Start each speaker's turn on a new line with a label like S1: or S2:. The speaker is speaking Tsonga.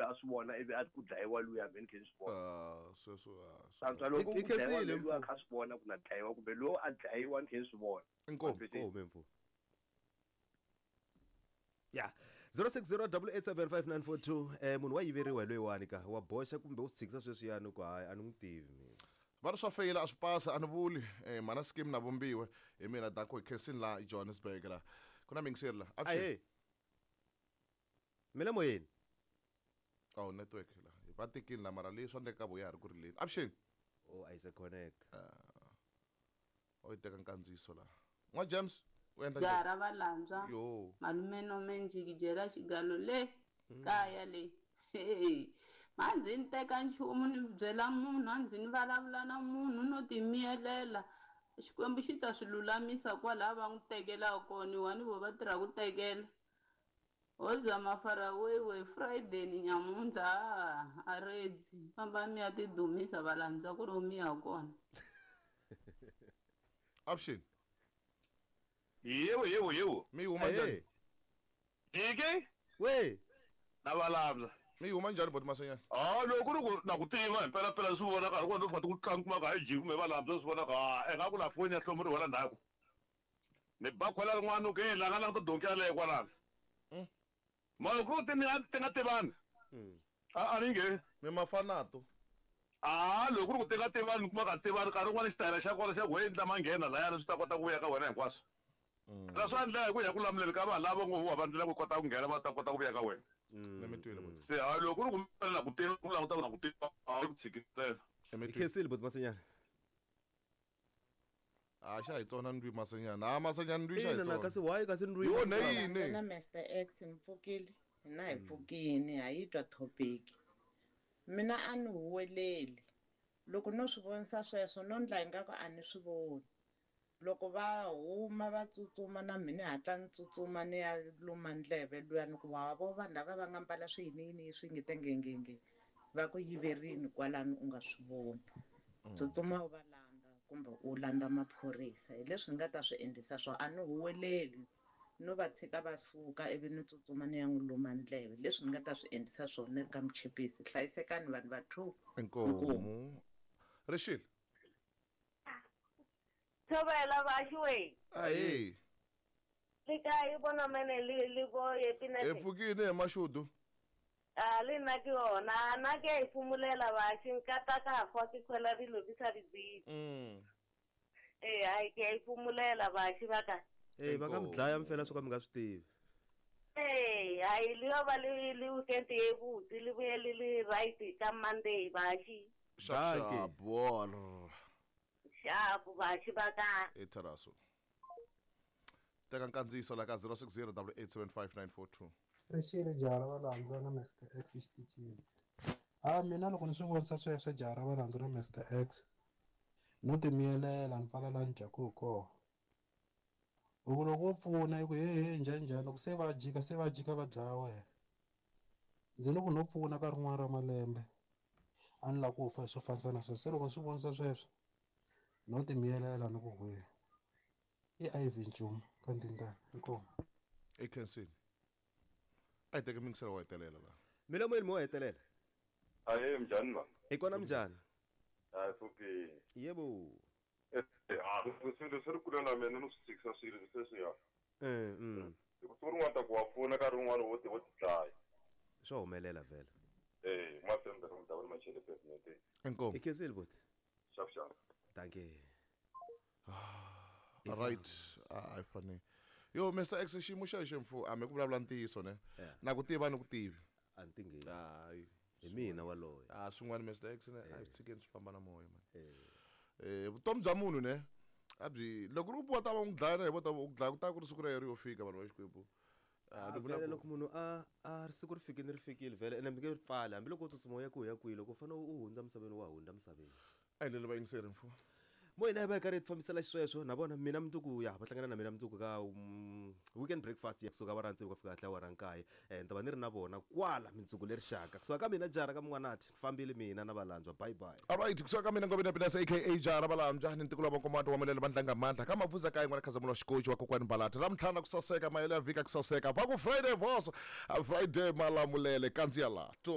S1: loyi a swi vona ivi a ku dlayiwa luya me ni khe ni swi vona.
S2: Ah, sweswo ah,
S1: Antswa loko
S3: Hi
S1: ku dlayiwa
S3: khensile,
S1: loyi a
S3: mfo.
S1: kha swi vona ku na dlayiwa kumbe loyi a dlayiwa ni khe ni swi vona.
S2: Inkomu.
S3: Inkomu mfo. Ya 0608875942 munhu wa yiveriwa hi loyiwani ka wa boxa kumbe u swi tshikisa sweswiyani ku hayi a ni n'wi tivi mina.
S2: Va ri swa feyila a swi pasa a ni vuli mhana scheme na vumbiwe hi mina danko hi khensini la Johannesburg la ku na mingiseri la avuxeni
S3: Ahee. Mi le moyeni.
S2: Oh network la va tekini la mara leyi swa endleka ka vo ya ha ri ku rileni avuxeni.
S3: Oh a yi se connect.
S2: O yi teka nkandziyiso la n'wa James u endla
S4: Jaha
S2: njhani?
S4: ra valandzwa
S2: Yo.
S4: malume nome njikijela xigalo le kaya le Hey, a ndzi ni teka nchumu ni byela munhu a ndzi ni vulavula na munhu no timiyelela Xikwembu xi ta swi lulamisa kwalaha va n'wi tekelaka kona wani vo va tirha ku tekela ho zama faraway we Friday ni nyamuntlha a redzi famba mi ya tidumisa valandzwa ku ri mi ya kona.
S2: Avuxeni.
S5: Yebo yebo yebo.
S2: Mi huma njhani?
S5: Diki?
S3: We.
S5: Na valabya.
S2: Mi huma njhani boti Masenyana?
S5: Ah loko ku ri ku na ku tiva hi mpela mpela swi vonaka loko no fika ku tlanga kuma ka hayi jiki kumbe valabya swi vonaka ha ingaku la foni ya hlomuriwa la ndzhaku. Ni ba khwela rin'wana ku hey la nga languta donki yaleyo kwalano. Mara ku ri ti nga ti nga tivani. A a ni nge.
S2: Mi mafanato.
S5: A loko ku ri ku ti nga tivani kuma ka tivani nkarhi wun'wani xitayele xa kona xa ku hey ni ta manghena layani swi ta kota ku vuya ka wena hinkwaswo. Phela swa endleka hi ku ya ku lamuleni ka vanhu lava ngo wa va ndlela ku kota ku nghena va ta kota ku vuya ka wena.
S2: Ni mi twile boti.
S5: Se hayi loko ku ri ku na ku tiva ku languta ku na ku tiva a ku tshikisela.
S3: Hi khensile boti Masenyana.
S2: A xa hi tsona ndwi Masenyana. Ha Masenyana ndwi xa hi
S3: Ina na
S2: tsona.
S3: kasi why kasi ndwi
S2: Yo
S3: masiku lawa?
S2: ne yini?
S6: Na Mr X mi pfukile hina hi pfukini ha yi twa topic mina a ni huweleli loko no swi vonisa sweswo no ndla ingaku a ni swi voni loko va huma va tsutsuma na mina hatla ni tsutsuma ni ya luma ndleve luya ni ku wa vo vanhu lava va nga mbala swiyiniyini swi nge te ngengenge va ku yiverini kwalano u nga swi voni tsutsuma u va landza kumbe u landza maphorisa hi leswi ni nga ta swi endlisa swona a ni huweleli no va tshika va suka ivi ni tsutsuma ni ya n'wi luma ndleve leswi ni nga ta swi endlisa swona ni ri ka muchipisi hlayisekani vanhu va two
S2: Inkomu. Rixile.
S7: Thobela bashiwe.
S2: Ahee.
S7: Le kae bona mene le le bo
S2: Hi
S7: epinete.
S2: pfukile hi mashudu.
S7: A le nna ke yona nna ke a iphumulela bashi nka ta ka hwa ke khwela dilo ke sa di tsebe. Ee hai ke a iphumulela bashi ba ka.
S3: Eh va nga mi dlaya mfela swo ka mi nga swi tivi.
S7: Ee hai le yo ba le le weekend ye botse le boye le le right ka Monday bashi.
S2: Sharp sharp. Ball.
S7: Sharp bashi ba ka.
S2: E Taraso. Teka nkandziyiso la ka 0608875942.
S8: Rixile jaha ra valandzwa na Mr X xitichini. A mina loko ni swi vonisa sweswo jaha ra valandzwa na Mr X no timiyelela ni pfala laha ni dyaku hi kona. Hi ku loko wo pfuna i ku hehe njhani njhani loko se va jika se va jika va dlaya wena. Ndzi ni ku no pfuna ka rin'wana ra malembe a ni lava ku fa hi swo fanisa na sweswo se loko ni swi vonisa sweswo no timiyelela ni ku hwe i Ivy Nchumu ka Ndindana inkomu.
S2: I khensile. A hi teke mingiselo wo hetelela la.
S3: Milomo yini mo hetelela?
S9: Ahee minjhani ma?
S3: Hi kona minjhani?
S9: Hayi pfukile.
S3: Yebo.
S9: Ha swilo swi ri kule na mina no swi tshikisa swilo sweswiya. Hi ku siku rin'wana ta ku wa pfuna nkarhi wun'wani wo ti wo ti dlaya.
S3: Swa humelela vhele.
S9: Eh, masembe ra mudavani machele president.
S2: Inkomu.
S3: Hi khensile boti.
S9: Sharp sharp.
S3: Dankie.
S2: Right. A yi fane. Yo Mr X xiyimo xa xi mfu a mi ku vulavula ntiyiso ne. Na ku tiva ni ku tivi.
S3: A ni tingeni.
S2: Hayi.
S3: Hi mina waloye.
S2: Ah swin'wana Mr X ne a swi tshikeni swi famba na moya man. Vutomi bya munhu ne a byi loko ri ku ta va n'wi dlaya na hi vo ta ku dlaya ku ta ku ri siku ra yena ri yo fika vanhu va Xikwembu.
S3: Ah,
S2: ni vula
S3: vhele
S2: ku-
S3: loko munhu a a ri siku ri fikile ri fikile vhele ene mi nge ri pfali hambiloko u tsutsuma u ya kwihi ya kwihi loko u fanele u hundza misaveni wa hundza misaveni.
S2: A hi leli vayingiseri mfu.
S3: Mo hina hi va hi karhi hi fambisela xisweswo na vona mina mundzuku ya va hlangana na mina mundzuku ka weekend breakfast ya kusuka awara tsevu ku fika kahle awara nkaye ni ta va ni ri na vona kwala mindzuku leri xaka kusuka ka mina jara ka mun'wanati ni fambile mina na valandzwa bye bye.
S2: Alright, kusuka ka mina Ngobeni Pinasa aka Jara Balambya ni ntikulu wa Nkomato wa Mulele Vandlanga Mandla ka Mavuza ka yin'wana Khazamulo Xikochi wa Kokwani Balati ra mtlhana ku saseka mahelo ya vhika ku saseka va ku Friday boss Friday malamulele kandziya la to.